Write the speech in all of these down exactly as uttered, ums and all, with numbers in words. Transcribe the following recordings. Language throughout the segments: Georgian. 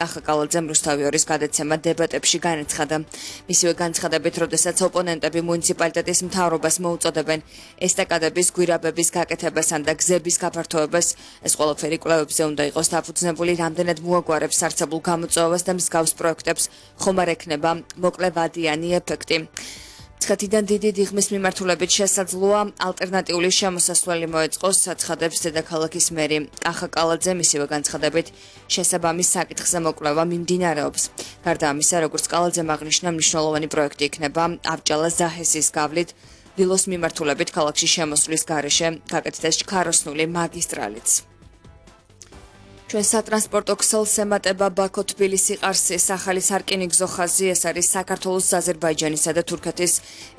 კახა კალაძემ რუსთავი ორის გადაცემა დებატებში განაცხადა. მისივე განცხადებით, როდესაც ოპონენტები მუნიციპალიტეტის მთავრობას მოუწოდებენ ესტაკადების გვირაბების გაკეთებასთან და გზების გაფართოებას, ეს ყველაფერი კვლევებზე უნდა იყოს დაფუძნებული, რამდენად მოაგვარებს არსებულ გამოწვევას და მსგავს პროექტებს ხომ არ ექნება მოკლევადიანი ეფექტი. ცხადიდან დიდი დიღმის მიმართულებით შესაძლოა ალტერნატიული შემოსასვლელი მოეწყოს, აცხადებს დედაქალაქის მერი კახა კალაძე. მისივე განცხადებით, შესაბამის საკითხზე მოკვლევა მიმდინარეობს. გარდა ამისა, როგორც კალაძემ აღნიშნა, მნიშვნელოვანი პროექტი იქნება ავჭალა-ზაჰესის გავლით დილოს მიმართულებით ქალაქში შემოსვლის გარეშე გაკეთდეს ჩქაროსნული მაგისტრალიც. ჩვენ სატრანსპორტო ქსელს ემატება ბაქო-თბილისი-ყარსის ახალი სარკინიგზო ხაზი. ეს არის საქართველოს, აზერბაიჯანისა და თურქეთის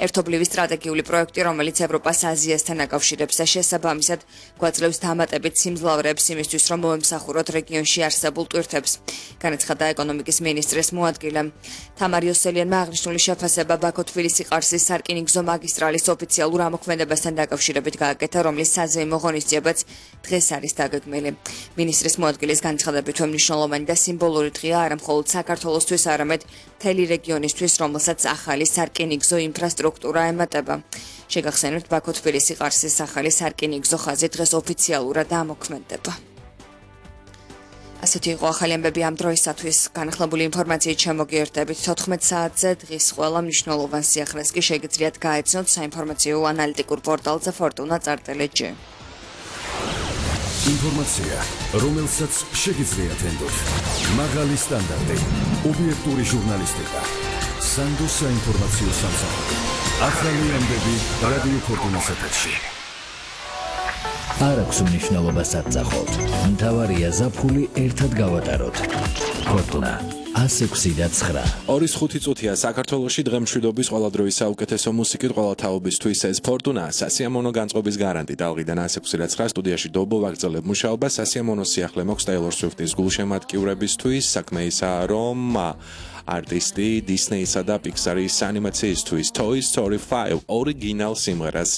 ერთობლივი სტრატეგიული პროექტი, რომელიც ევროპას აზიასთან აკავშირებს და შესაბამისად გვაძლევს დამატებით სიმძლავრეებს იმისთვის, რომ მოემსახუროთ რეგიონში არსებულ ტვირთებს, განაცხადა ეკონომიკის მინისტრის მოადგილე. თამარ იოსელიანმა აღნიშნული შეფასება ბაქო-თბილისი-ყარსის სარკინიგზო მაგისტრალის ოფიციალურ ამოქმედებასთან დაკავშირებით გააკეთა, რომლის საზეიმო ღონისძიებაც დღეს არის დაგეგმილი. მინისტრის მოადგილე ის განცხადებით, რომ მნიშვნელოვანი და სიმბოლური დღეა არა მხოლოდ საქართველოსთვის, არამედ მთელი რეგიონისთვის, რომელსაც ახალი სარკინიგზო ინფრასტრუქტურა ემატება. შეგახსენებთ, ბაქო-თბილისი-ყარსის ახალი სარკინიგზო ხაზი დღეს ოფიციალურად ამოქმედება. ასეთი იყო ახალი ამბები ამ დროისათვის. განახლებული ინფორმაციით შემოგიერთდებით თოთხმეტ საათზე. დღის ყველა მნიშვნელოვან სიახლეს კი შეგიძლიათ გაეცნოთ საინფორმაციო ანალიტიკურ პორტალზე Fortuna Artele.g. ინფორმაცია, რომელსაც შეგიძლიათ ენდოთ. მაღალი სტანდარტი, ობიექტური ჟურნალისტიკა, სანდო საინფორმაციო სამსახური. ახალი ამბები რადიო Fortuna's ეთერში. არ აქვს მნიშვნელობას აწახოთ. მთავარია ზაფხული ერთად გავატაროთ. Fortuna ასი ექვსი და ცხრა. ორის ხუთი წუთია საქართველოში დღემშვიდობის ყველა დროის საუკეთესო მუსიკით ყველა თაობისთვის ეს Fortuna სასიამოვნო განწყობის გარანტი ტალღიდან ასი ექვსი და ცხრა სტუდიაში დობო ვაგრძელებ მუშაობა სასიამოვნო სიახლე მოქვს Taylor Swift-ის გულშემატკივრებისთვის საქმე ისაა რომ არტისტი Disney-სა და Pixar-ის ანიმაციისთვის Toy Story five ორიგინალ სიმღერას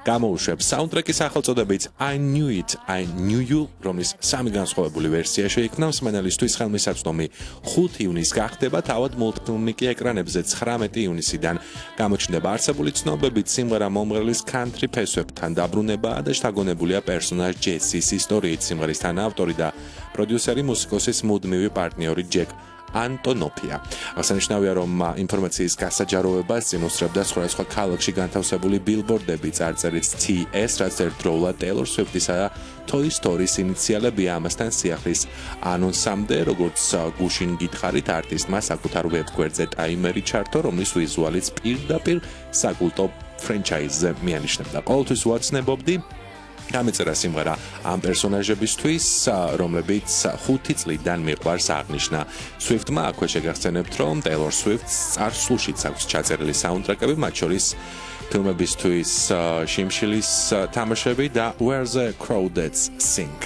გამოუშვებს. საუნდტრეკის სახელწოდებით I Knew It, I Knew You, რომლის სამი განსხვავებული ვერსია შეიქმნა მსმენელისთვის ხელმისაწვდომი ხუთი ივნისს გახდება, თავად მულტფილმი კი ეკრანებზე ცხრამეტი ივნისიდან გამოჩნდება. არსებული ცნობებით სიმღერა მომღერლის country ფესვებთან დაბრუნებაა და შთაგონებულია პერსონაჟ ჯესის ისტორიით. სიმღერის თანაავტორი და პროდიუსერი მუსიკოსის მუდმივი პარტნიორი ჯეკ ანტონოფია. აღსანიშნავია, რომ ინფორმაციის გასაჯაროვებას წინ უსწრებდა სხვადასხვა ქალაქში განთავსებული ბილბორდები, წარწერით T S, რაც ერთდროულად Taylor Swift-ისა და Toy Story-ის ინიციალებია. ამასთან სიახლის ანონსამდე, როგორც გუშინ გითხარით, არტისტმა საკუთარ ვებგვერდზე ტაიმერი ჩართო, რომლის ვიზუალიც პირდაპირ საკულტო ფრენჩაიზზე მიანიშნებდა. ყოველთვის ვაცნებობდი გამეწერა სიმღერა ამ პერსონაჟებისთვის, რომლებიც ხუთი წლიდან მიყვარს, აღნიშნა Swift-მა. აქვე შეგახსენებთ, რომ Taylor Swift-ს წარსულშიც აქვს ჩაწერილი საუნდტრეკები, მათ შორის ფილმებისთვის შიმშილის თამაშები და Where the Crawdads Sing.